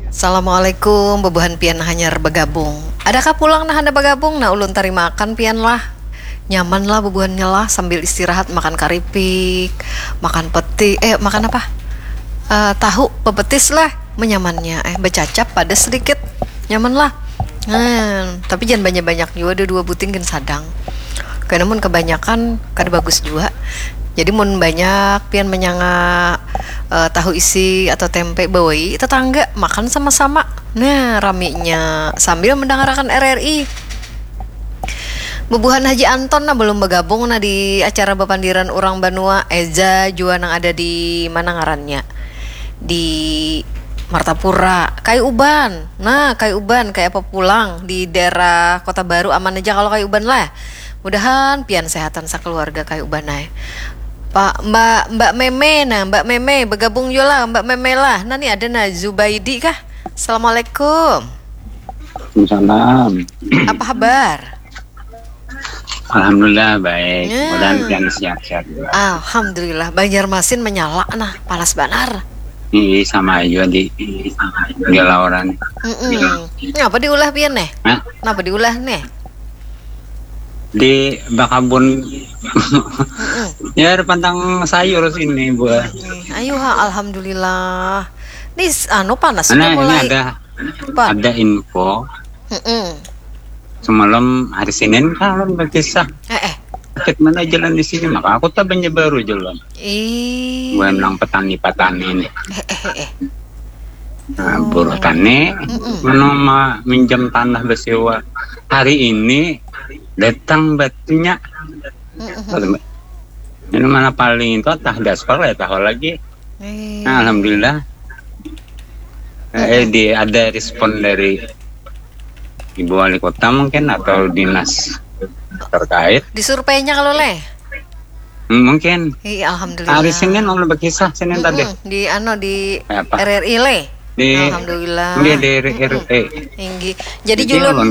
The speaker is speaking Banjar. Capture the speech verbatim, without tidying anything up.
Assalamualaikum, bubuhan pian hanyar bagabung. Adakah pulang nah handak bagabung? Nah, ulun tarimakan pian lah. Nyaman lah bubuhannya lah, sambil istirahat makan karipik, makan peti, eh, makan apa? Eh, tahu, pepetis lah, menyamannya. Eh, becacap, padas sedikit, nyaman lah. Hmm, tapi jangan banyak-banyak jua, ada dua buting gin sadang. Kena mun kebanyakan kada bagus jua. Jadi mun banyak pian menyanga eh, tahu isi atau tempe bawai tetangga makan sama-sama. Nah, raminya sambil mendengarkan R R I. Bubuhan Haji Anton nah belum bergabung nah di acara bapandiran urang banua. Eza jua nang ada di mana ngarannya? Di Martapura. Kai Uban. Nah, Kai Uban, kayak apa pulang di daerah Kota Baru, aman aja kalau Kai Uban lah. Mudahan pian sehatan sakeluarga Kai Uban ai. Pak, Mbak, Mbak Meme nah, Mbak Meme bergabung jua lah, Mbak Meme lah. Nah, ni ada nah Zubaidi kah? Assalamualaikum. Salam. Apa kabar? Alhamdulillah baik. Ya. Mudahan pian sehat-sehat juga. Alhamdulillah, Banjarmasin menyala nah, panas banar. Ini sama aja di di Lauran. Mm-mm. Ngapa diulah pian nih? Hah? Kenapa diulah nih? Di bakabun. Mm-mm. Ya, ada pantang sayur sini buah. Nih, ayo ha, alhamdulillah. Nih, s- anu panas Karena sudah ini mulai. ada Apa? Ada info Mm-mm. semalam hari Senin kan berkisah Eh, eh. sakit mana jalan di sini, maka aku tak banyak baru jalan. Ih. Gue bilang petani-petani nih. Eh, eh, eh, eh. Nah, buruh tani Mm-mm. mana ma- minjam tanah bersewa. Hari ini datang batunya. Mm-mm. Ini mana paling itu tah daspar ya tahu lagi. Eh. Nah, alhamdulillah. Eh, di ada respon dari ibu wali kota mungkin atau dinas terkait. Di surveinya kalau leh. Hmm, mungkin Ih, alhamdulillah. Hari Senin ulun berkisah Senin tadi. Mm-mm. Di anu di Apa? R R I leh. Di Alhamdulillah. Iya, di R R I. Tinggi. Jadi Jadi julun ulun